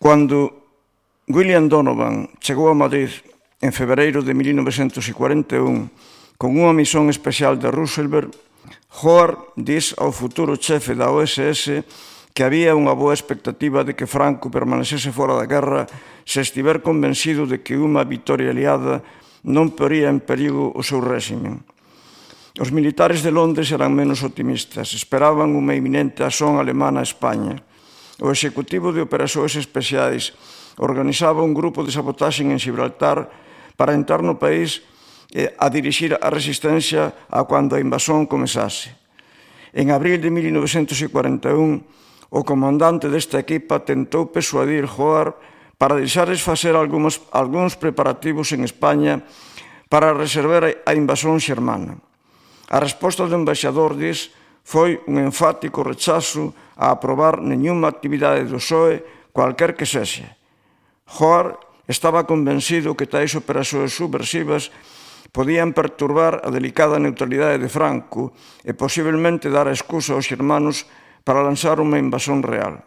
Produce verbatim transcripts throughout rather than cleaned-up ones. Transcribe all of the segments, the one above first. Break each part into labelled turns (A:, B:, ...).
A: Cando William Donovan chegou a Madrid en febreiro de mil novecentos cuarenta e un con unha misión especial de Roosevelt, Howard dis ao futuro chefe da O S S que había unha boa expectativa de que Franco permanecese fora da guerra se estiver convencido de que unha vitoria aliada non poría en perigo o seu réximen. Os militares de Londres eran menos optimistas, esperaban unha inminente asón alemana a España. O Executivo de Operações Especiais organizaba un grupo de sabotaxe en Gibraltar para entrar no país a dirixir a resistencia a cando a invasión comezase. En abril de mil novecentos cuarenta e un, o comandante desta equipa tentou persuadir Howard para deixarles facer algúns, algúns preparativos en España para reservar a invasión xermana. A resposta do embaixador dis foi un enfático rechazo a aprobar nenhuma actividade do P S O E, cualquer que sexa. Howard estaba convencido que tais operacións subversivas podían perturbar a delicada neutralidade de Franco e posiblemente dar a excusa aos xermanos para lanzar unha invasión real.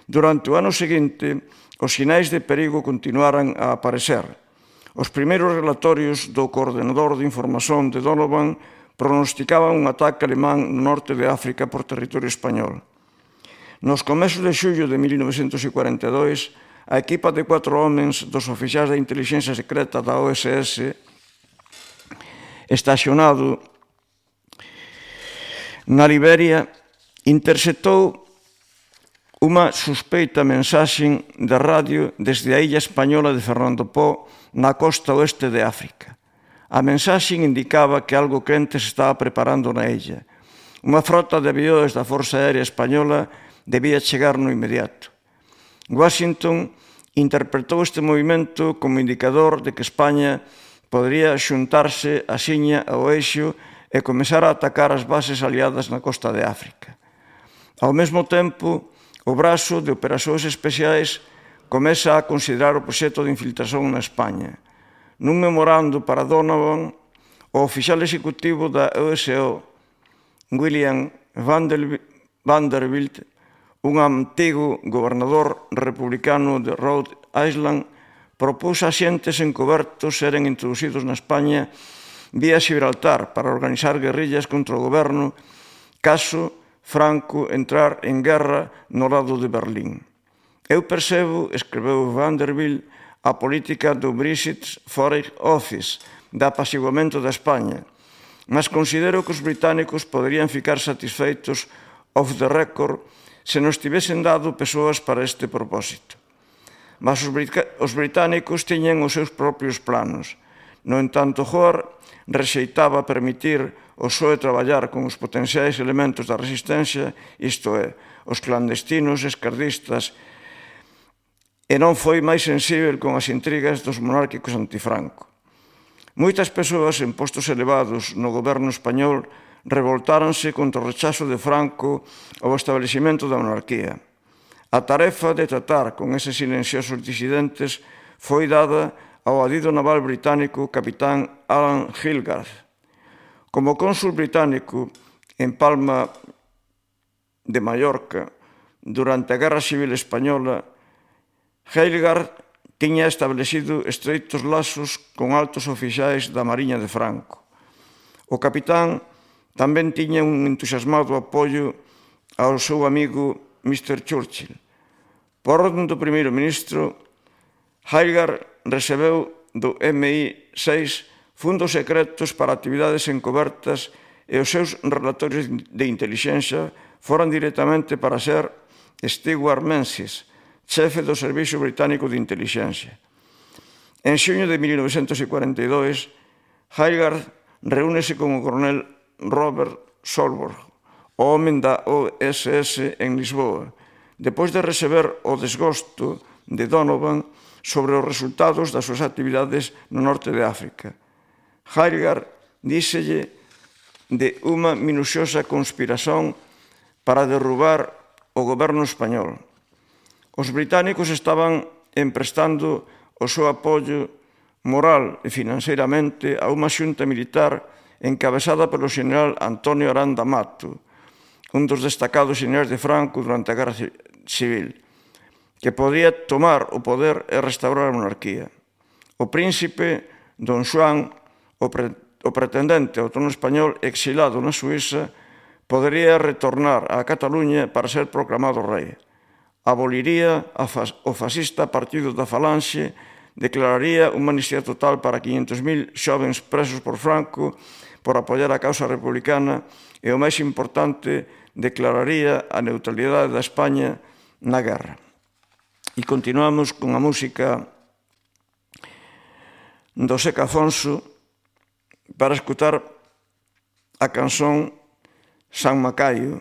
A: Durante o ano seguinte, os sinais de perigo continuaran a aparecer. Os primeiros relatorios do coordenador de información de Donovan pronosticaban un ataque alemán no norte de África por territorio español. Nos comezos de xullo de mil novecentos cuarenta e dois, a equipa de cuatro homens dos oficiais da inteligencia secreta da O S S, estacionado na Liberia, interceptou unha suspeita mensaxe de radio desde a illa española de Fernando Poo na costa oeste de África. A mensaxe indicaba que algo quente se estaba preparando na illa. Unha frota de avións da Forza Aérea Española debía chegar no inmediato. Washington interpretou este movimento como indicador de que España podría xuntarse axiña ao eixo e comezar a atacar as bases aliadas na costa de África. Ao mesmo tempo, o brazo de Operacións Especiais comeza a considerar o proxecto de infiltración na España. Nun memorando para Donovan, o oficial executivo da O S O, William Vanderbilt, un antigo gobernador republicano de Rhode Island, propús a xentes encobertos seren introducidos na España vía Gibraltar para organizar guerrillas contra o goberno caso Franco entrar en guerra no lado de Berlín. Eu percebo, escreveu Vanderbilt, a política do Brexit Foreign Office de apaciguamento da España, mas considero que os británicos poderían ficar satisfeitos off the record se nos tivesen dado persoas para este propósito. Mas os británicos tiñan os seus propios planos. No entanto, Howard rexeitaba permitir o P S O E traballar con os potenciais elementos da resistencia, isto é, os clandestinos esquerdistas, e non foi máis sensível con as intrigas dos monárquicos antifranco. Moitas persoas en postos elevados no goberno español revoltáronse contra o rechazo de Franco ao establecimento da monarquía. A tarefa de tratar con eses silenciosos disidentes foi dada ao adido naval británico capitán Alan Hilgarth. Como cónsul británico en Palma de Mallorca durante a Guerra Civil Española, Hilgarth tiña establecido estreitos lazos con altos oficiais da Mariña de Franco. O capitán tamén tiña un entusiasmado apoio ao seu amigo mister Churchill. Por orden do primeiro ministro, Hilgarth recebeu do M I seis fundos secretos para actividades encobertas e os seus relatorios de intelixencia foran directamente para ser Stewart Menzies, chefe do Servicio Británico de Intelixencia. En xuño de mil novecentos cuarenta e dois, Hilgarth reúnese con o coronel Robert Solborg, o home da O S S en Lisboa, depois de receber o desgosto de Donovan sobre os resultados das súas actividades no norte de África. Hilgarth díxelle de unha minuciosa conspiración para derrubar o goberno español. Os británicos estaban emprestando o seu apoio moral e financeiramente a unha xunta militar encabezada polo xeneral Antonio Aranda Mato, un dos destacados xenerais de Franco durante a Guerra Civil, que podía tomar o poder e restaurar a monarquía. O príncipe Don Xoán, o, pre, o pretendente ao trono español exilado na Suíza, podería retornar a Cataluña para ser proclamado rei. Aboliría a fas, o fascista Partido da Falanxe, declararía unha amnistía total para quinhentos mil xovens presos por Franco por apoiar a causa republicana e, o máis importante, declararía a neutralidade da España na guerra. E continuamos con a música do Seca Afonso para escutar a canción San Macaio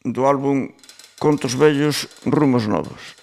A: do álbum Contos Vellos, Rumos Novos.